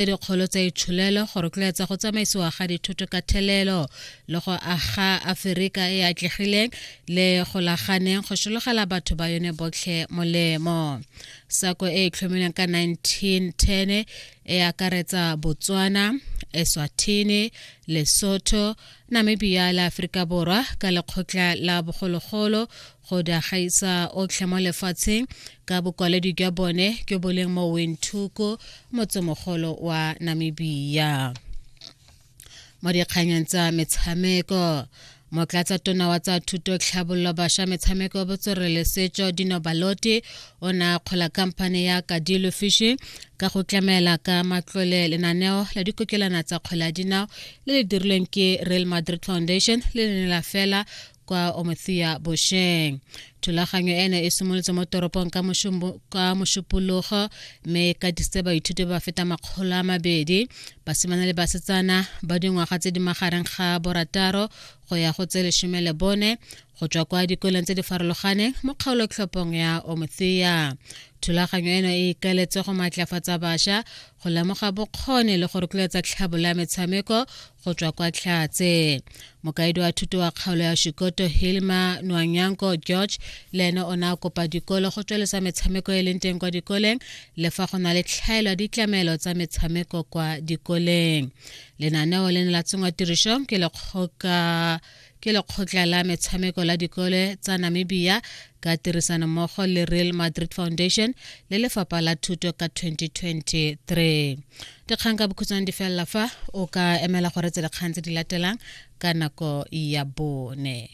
Tse dikgolo tsa itsholelo go rotloetsa go tsamaisiwa ga dithoto ka thelelo le go aga Aferika e atlegileng le golaganeng go sologela batho ba yone botlhe molemo. Sako e e tlhomilweng ka 1910 e akaretsa Botswana, Eswatini, Lesotho, Namibia le Aforika Borwa ka lekgotla la bogologolo go di gaisa otlhe mo lefatsheng ka bokwaledi jwa bone jo bo leng mo Windhoek, motsemogolo wa Namibia. Mo dikganyeng tsa metshameko, motlatsa tona wa tsa thuto tlhabololo bašwa metshameko botswerere le setso Dino Baloti o ne a kgola khamphane ya Kadilo Fishing ka go tlamela ka matlole lenaneo la dikokelana tsa kgwele ya dinao le le dirilweng ke Real Madrid Foundation le le ne la fela kwa Omothiya bosheng. Thulaganyo eno e simolotse mo toropong ka Mošupologo mme e katisitse baithuti ba feta 200, basimane le basetsana ba dingwaga tse di magareng ga borataro go ya go tse 14 go tswa kwa dikolong tse di farologaneng mo kgaolotlhophong ya Omothiya. Thulaganyo eno e ikaeletse go maatlafatsa bašwa go lemoga bokgoni le go rotloetsa tlhabolo ya metshameko go tswa kwa Tlhatse. Mokaedi wa thuto wa kgaolo ya Shikoto Hilma Nwanyanko George le ene o ne a kopa dikolo go tsweletsa metshameko e leng teng kwa dikoleng le fa go na le tlhaelo ya ditlamelo tsa metshameko kwa dikoleng. Lenaneo le ne la tsenngwa tirisong ke lekgoka ke lekgotla la metshameko la dikole tsa Namibia ka tirisanommogo le Real Madrid Foundation le lefapha la thuto ka 2023. Dikgang ka bokhutshwane di felela fa o ka emela go reetsa dikgang tse di latelang ka nako ya bone.